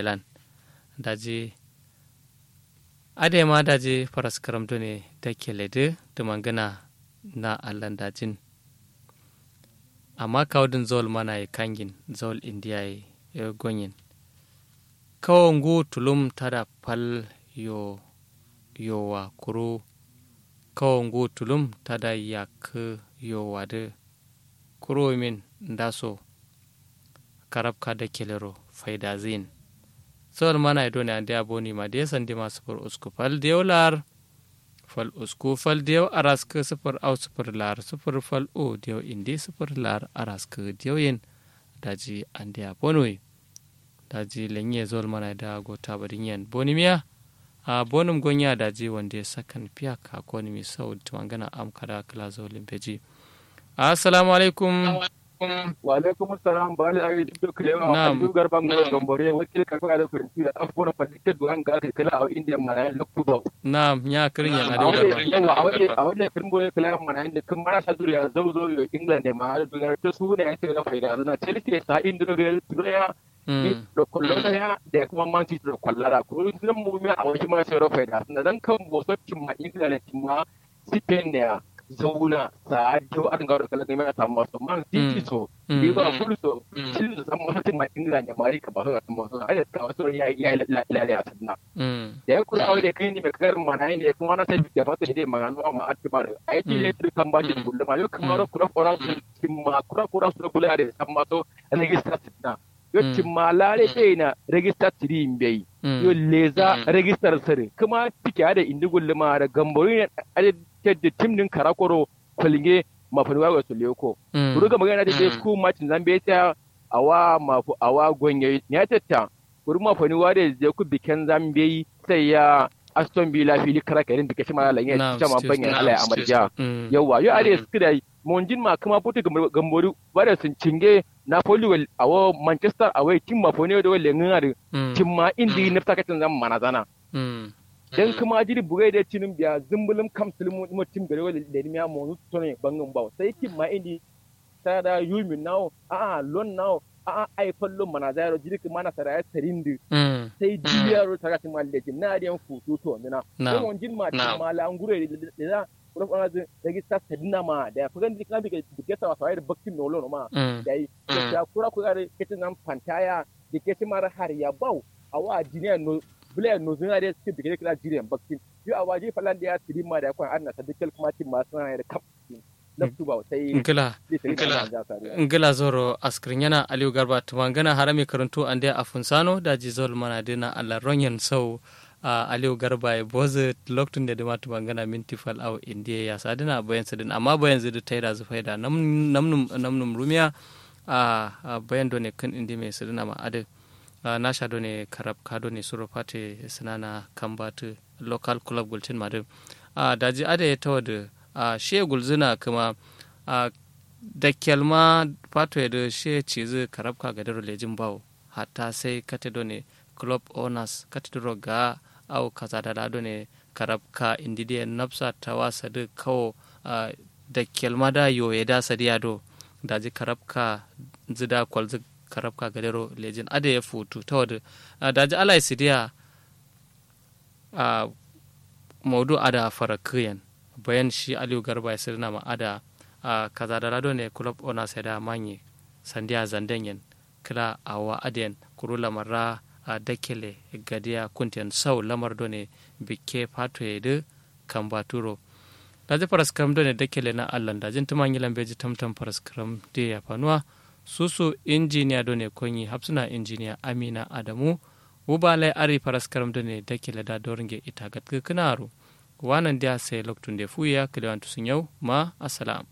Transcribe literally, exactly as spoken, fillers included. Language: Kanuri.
lan. Daji adai ma daji faraskaram done dakkele dǝ dǝmangǝna na allan dajin. Amma kawu dǝn zawal mana ye kangin zawal indiya ye gonyin. Kawo ngu tulum tada fal yo yowa kuru kawo ngu tulum tada yakkǝ yowa dǝ. Kuru min ndaso karabka dakkelero faidazǝ yin. Zawal mana ye done andeya boni ma diye sandima sǝfur usku fal diyew lar fal usku fal diyew araskǝ sǝfur au sǝfur lar sǝfur fal u diyew indi sǝfur lar araskǝ diyew yin. Daji andeya bonuwi. Daji lenye zawal mana ye da gota badinyen bonimiya. A bonum gonya daji wande sakan fiya ka konimi sau dǝ tǝmangana am kada kǝla zawalin beji. Assalamu alaikum. Wa alaikum salam bali awi duk kalewa. Na'am. Abdu garba ngoro gambore wakil karfa da kurfi da afkona fadikta duwan ga kai kala a indiya mana loktu ba. Na'am nya kirin yan adu garba. Yawa awai awai kirin bore kala mana inda kin mara sa duriya zau zau yo england ne ma duriya ta su ne ya ce na faida na chelsea sa indiro real duriya. Ni da kwallo daya da kuma man city da kwallo da ko zan mu mi a wani ma sai rofai da na dan kan boso cimma ingila ne cimma spain ne ya zauna sa addo an ga da kallon mai ta maso man city so liverpool so city so san maso cimma ingila ne mari ka ba so ta maso ai ta maso ya ya la la ya sanna da ya kula wai da kai ne mai karin mana ne kuma na sai da fata da magana ma a ci ba da ai ci ne kan ba shi kullum ma yau kamar kula kula cimma kula kula su kula da san maso register sanna. Yo cimma lare ɓeyi na register tiri mbeyi. Yo leza register sere kǝma tike ada indi gulluma ada gambori ne ada tedde tim din karakoro kolnge mafani wago so leko. Kuru gambori ne ada de sku match zambe ta awa mafu awa gonge ne tetta. Kuru mafani wade de ku biken zambe sai ya aston villa fili karaka irin bike shima la lanye shama bangen ala ya amarja. Yawa yo ada skida monjin ma kǝma putu gambori wade sun cinge napoli wal awo manchester awai tim mafani wade wal lengin ada. Tim ma indi nafta katin zan manazana. Dan kǝma jiri bugai da cinin biya zumbulum kam sulumu mo tim gare wal lenimiya mo nutsu tone bangin bawo sai tim ma indi. Sada yumin nawo a'a lon nawo a'a ai fallo mana zayaro jiri kǝma na saraya sarindi. Sai diyaro saraya kǝma lejin na adiyan futu to mina. Ko monjin ma tim ma la ngure da kuro fana zin register sadina ma da ya fagan dikna bike bike sawa sawa da baktin no lono ma. Da yi ya kura kura da ketin nan fantaya da ketin mara har ya bau awa jiniya no bula no zina da suke bike kira jiriyan baktin. Yo awa ji falan da ya sidin ma da ya kwan adna sadikel kuma tim ma suna ya da kap. Ngla ngla zoro askirnyana aliyu garba tumangana harami karuntu ande afunsano daji zol mana dina allah ronyen sau. Aliyu garba ye bozu loktunde duma tumangana minti fal au indiye ya sadina bayan sidin amma bayan zidi taida zu faida namnum rumiya. Bayan done kin indi me sidina ma adi nasha done karab ka done suro fate sinana kambatu local club gultin madin. Daji adaye tawadu shiye gulzina kǝma. Dakkel ma fatoye dǝ shiye cizu karabka gadero lejin bawo hatta sai kate done club owners kate duro ga au kazadala done karabka indidiye nafsa tawa sadu kawo. Dakkel ma da yoye da sadiya do daji karabka zida kwalzu karabka gadero lejin adaye futu tawadu. Daji alai sidiya. Maudu ada farakǝyen bayan shi aliyu garba ye sǝdǝna ma ada. Kazadala done club owners ye da manye sandiya zanden yen kǝla awa adǝ yen kuru lamarra. Dakkele gadiya kunten sau lamar done bikke fatoye dǝ kambaturo. Daji faraskǝram done dakkele na allan dajin tǝma nyilan beji tamtam faraskǝram diye yafanuwa. Susu injiniya done konyi hafsǝna injiniya amina adamu. Wuba lai ari faraskaram done dakile da dornge ita gatkǝ kǝnaro. Wanan diya sai loktunde fuya kǝlewan tusunyau ma assalam.